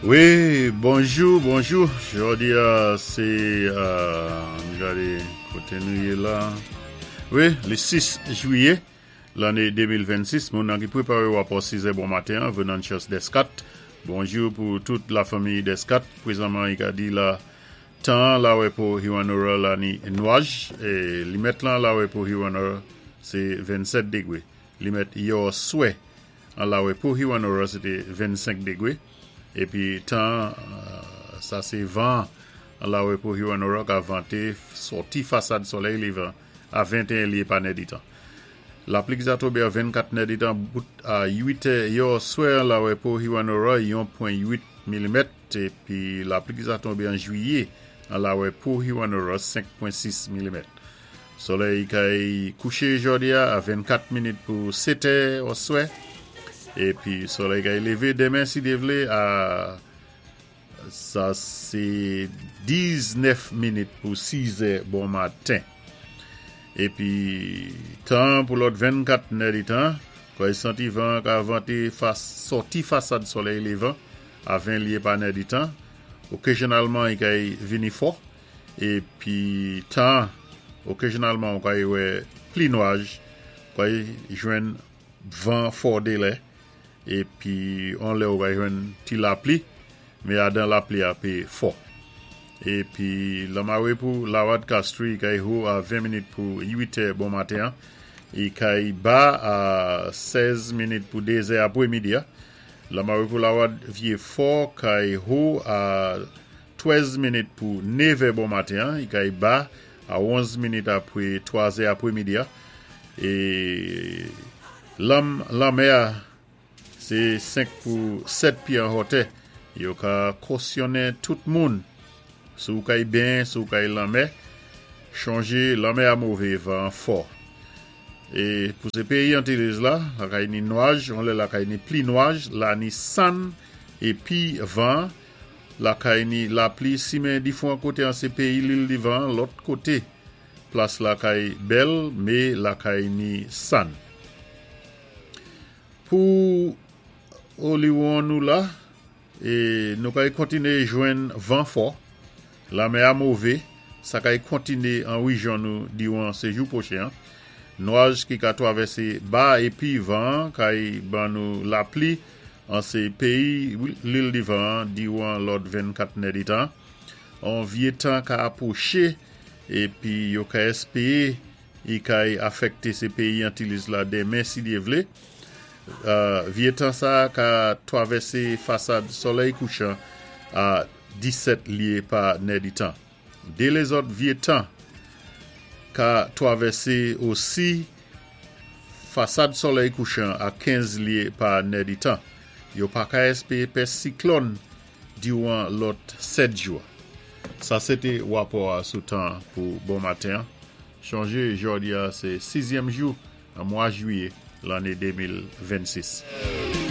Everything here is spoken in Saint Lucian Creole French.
Wi, bonjou, bonjou. Jòdi a sé, ann gadé koté nou yé la. Wi, li 6 jwiyé lanné 2026. Moun nan ki pwéparé wapò 6 è bon maten an, Venantius Descat. Bonjou pou tout lafanmi Descat. Pwézanman i ka di la tan an la wè pou Hewanorra la ni nwaj. Limèt lan la wè pou Hewanorra sé 27 degwé. Limèt yò swè an la wè pou Hewanorra se té 25 degwé. Épi tan an sa sé van an la wè pou Hewanorra ka vanté sòti fasad solèy lévan a 21 lyé pa nèditan. Lapli ki sa tonbé an 24 nèditan bout a 8 è yò swè an la wè pou Hewanorra yon pwen 8 milimèt épi lapli ki sa tonbé an jwiyé an la wè pou Hewanorra 5 pwen 6 milimèt. Solèy kay kouché jòdi a a 24 minit pou 7 è oswè epi solèy kay levé demen si Dye vlé a Sa se 19 minit pou 6 è bon maten. Epi tan an pou lòt 24 nèditan, kòy santi van an ka vante fas sòti fasad solèy levan a 20 lye pa nèditan. Okezyonalman i kay vini fò. Epi tan an, okezyonalman ou kay wè pli nwaj, kay jwenn van fò delè. Epi on lè ou va jwenn ti lapli, men adan lapli a pe fò. Epi lanmare pou Lawad Castri kay ho a 20 minit pou 8 è bon maten an, e kay ba a 16 minit pou 2 zè apre midi a. Lanmare pou Lawad Vye Fò kay ho a 13 minit pou 9 è bon maten an, e kay ba a 11 minit apre 3 zè apre midi a. E Lanm lanmè a se 5 pou 7 pye an hòtè. Yo ka kosyonnen tout moun. Si w kay benyen, si w kay lanmè, chonje lanmè a move, van an fò. E pou se peyi Antilles la, lakay ni nwaj, on lè lakay ni pli nwaj, la ni sann e pi van, lakay ni lapli simen difwan kote an se peyi Lil Divan an, lòt kote. Plas lakay bèl me lakay ni sann. Pou Oliwon nou la e nou kay kontine jwenn van fò, lamè a move, sa kay kontine an rejyon nou diwan sejou pwochen an. Nwaj ki ka twavèse ba epi van an kay ban nou lapli an se peyi Lil Divan an diwan lòt 24 nèditan. On vye tan ka apwoche. Epi yo ka espee i kay afèkte se peyi Antilles la demen si Dye vle. Vye tan sa a ka twavèse fasad solèy kouchan a 17 lye pa nèditan. De lezòt vye tan ka twavèse osi fasad solèy kouchan a 15 lye pa nèditan. Yo pa ka espee pès siklòn diwan lòt 7 jou. Sa se te wapò a sou tan pou bon maten an. Chonje jòdi a se sizyèm jou nan mwa jwiye lanne 2026.